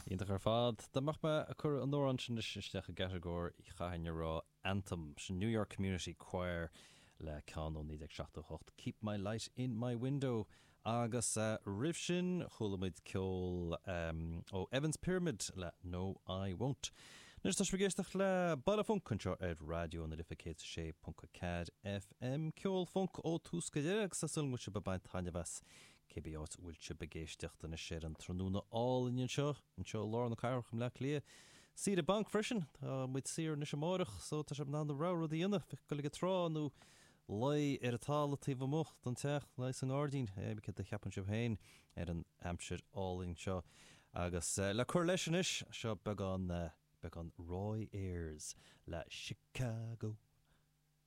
Iontach ar fad. Dá mbeadh mé ag cur an amhrán sin anois isteach i gcatagóir chaithfinn a rá Anthem. Sin New York Community Choir le ceann ó 1978, Keep My Light In My Window. Agus roimh sin chuala muid ceol ó Evans Pyramid le No I Won't. Anois tá sibh ag éisteacht le Baile Func anseo ar Raidió na Life 106.4 FM. Ceol func ó tús go deireadh agus tá súil agam go bhfuil sibh ag baint taitneamh as cibé áit a bhfuil sibh ag éisteacht anois ar an tráthnóna álainn anseo, anseo i lár na cathrach i mBleá Cliath. Saoire bainc freisin, tá muid saor anois amáireach so tá sibh in ann a rogha rud a dhéanamh, dul ag an trá nó luí ar an talamh taobh amuigh den teach, luí sa ngairdín, céard a cheapann sibh féin ar an aimsir álainn seo. Agus le cur leis anois, seo beagán, beagán Roy Ayers le Chicago.